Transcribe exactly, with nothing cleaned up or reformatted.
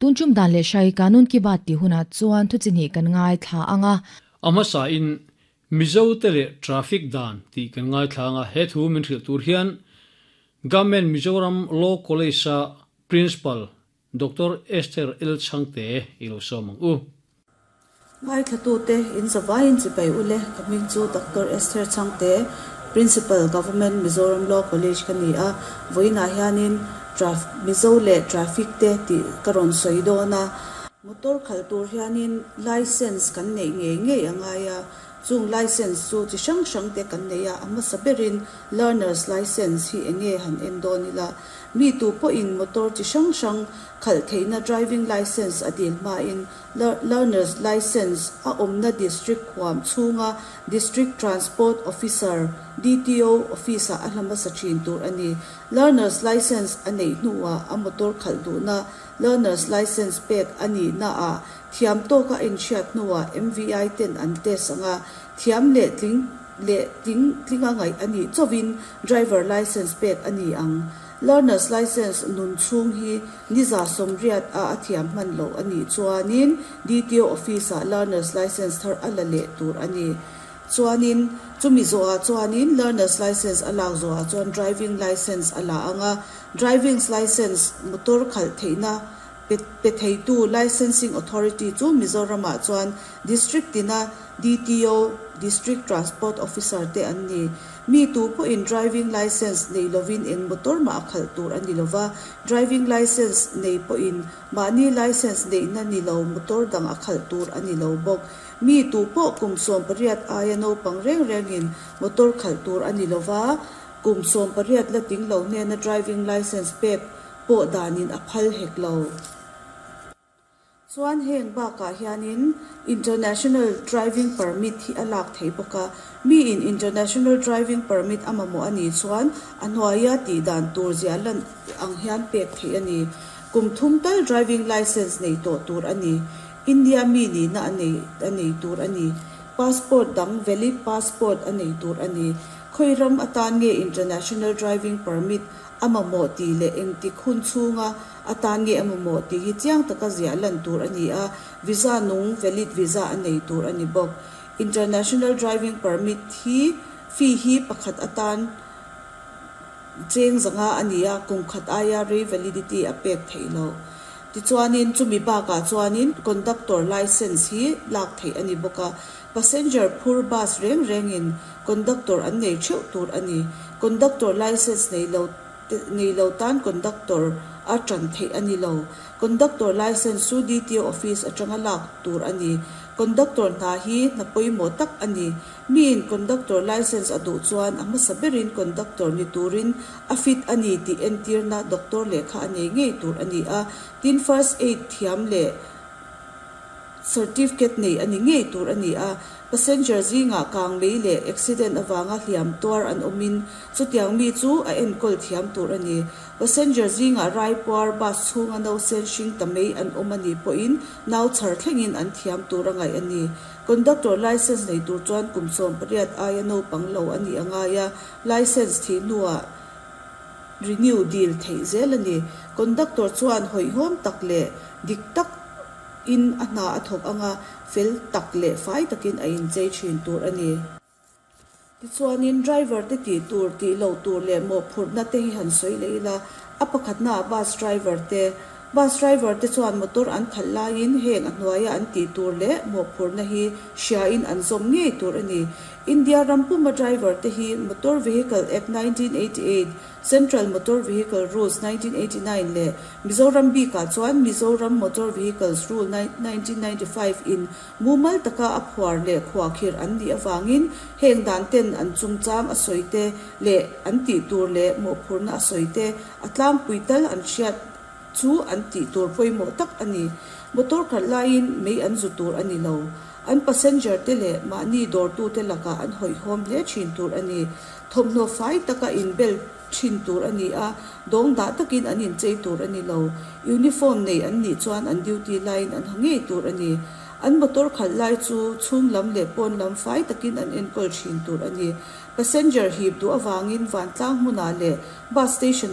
Tun tum dan le shai kanun ki bat ti huna chuan thu chini kan ngai thla anga. Ama sa in Mizo te le traffic dan ti kan ngai thla nga. He thu min hril tur hian Government Mizoram Law College sa Principal Doctor Esther L Changte ilo somang u. Ngai thlatu te in zawain chi pai ule. Kaming chu Doctor Esther Changte, Principal, Government Mizoram Law College kani a. Voina hianin traf Mizo le traffic te ti karon soidona. Motor khal tur hianin license kan nei nge nge angaya. Chung license chu chi sang sang te kan nei a. Ama saberin learners license hi enge han en donila. Mi tu po in motor chi sang sang khal theina driving license adil ma in learners license a omna district khwam chunga District Transport Officer, D T O officer a hlama sa thin tur ani. Learners license anei hnuwa a motor khal du na learners license pek ani na a thiam to ka in chiat hnuwa M V I ten an test anga. Thiam le tling le tling tlinga ngai ani chowin driver license pek ani ang. Learners license nun chung hi niza somriat a athiam man lo ani chuanin D T O office a learners license thar ala le tur ani. Chuanin chumi zo a chuanin learners license alak zo a chuan driving license ala anga. Driving license motor khal theina pe theitu licensing authority chu Mizoram ah chuan district tina D T O, District Transport Officer te an ni. Mi tu po in driving license nei lovin eng motor ma khal tur ani lova. Driving license nei po in mani license nei na ni lo motor dang a khal tur ani lo bok. Mi tu po kum som pariat aya no pang reng rengin motor khal tur ani lova. Kum som pariat la ting lo ne na driving license pek po danin a phal hek lo. Chuan heng ba ka hianin international driving permit hi alak thei boka. Mi in international driving permit amamo ani chuan anwaya ti dan tur zia lan ang hian pek thei ani. Kum thum tal driving license nei to tur ani. India mi ni na ani ani tur ani. Passport dang, valid passport ani tur ani. Khoiram atan nge international driving permit amamo ti le eng ti khun chunga atan nge amamo ti hi chiang taka zia lan tur ani a. Visa nung, valid visa anei tur ani bok. International driving permit hi fee hi pakhat atan cheng zanga ani a. Kum khat aya re validity a pek theilo. Ti chuanin chumi ba ka chuanin conductor license hi lak thei ani boka. Passenger phur bus reng rengin conductor an nei theuh tur ani. Conductor license nei lo nei lo tan conductor a tran thei ani lo. Conductor license chu D T O office atanga lak tur ani. Conductor hna hi na pawimawh tak ani. Mi in conductor license a duh chuan a hmasa berin conductor ni turin a fit ani tih entir na doctor lehkha a nei ngei tur ani a. Tin, first aid thiam leh certificate nei ani ngei tur ani a. Passenger zinga kang mei leh accident awanga hliam tuar an awmin chutiang mi chu a enkawl thiam tur ani. Passenger zinga rai puar, bus chhunga no sen hring ta mei an awm ani pawhin nau chhar thlengin an thiam tur a ngaih ani. Conductor license nei tur chuan kum sawm pariat aia naupang lo ani angai a. License thi hnuah renew dil theih zel ani. Conductor chuan hawihhawm tak leh dik tak in a hna a thawk anga, fel tak leh fai takin a inchei thin tur ani. Tichuanin driver te tih tur, tih lo tur leh mawhphurhna te hi han sawi leh ila. A pakhatna, bus driver te. Bus driver te chuan motor an khalh laiin heng a hnuaia an tih tur leh mawhphurhna hi hria in an zawm ngei tur ani. India rampuma driver te hi Motor Vehicle Act nineteen eighty-eight, Central Motor Vehicle Rules nineteen eighty-nine leh Mizoram bikah chuan Mizoram Motor Vehicles Rule nineteen ninety-five in mumal taka a phuar leh khuakhir an nih awangin heng dan ten an chungchang a sawi te leh an tih tur leh mawhphurhna a sawi te a tlangpui tal an hriat chu an tih tur pawimawh tak ani. Motor khalh laiin mei an zu tur ani lo. An passenger te leh mahni dawrtu te lakah an hawihhawm hle thin tur ani. Thawmhnaw fai taka inbel thin tur ani a, dawng dah takin an inchei tur ani lo. Uniform nei an nih chuan an duty laiin an ha ngei tur ani. An motor khalh lai chu chhung lam leh pawn lam fai takin an enkawl thin tur ani. Passenger hip duh awangin vantlang hmunah leh bus station ah.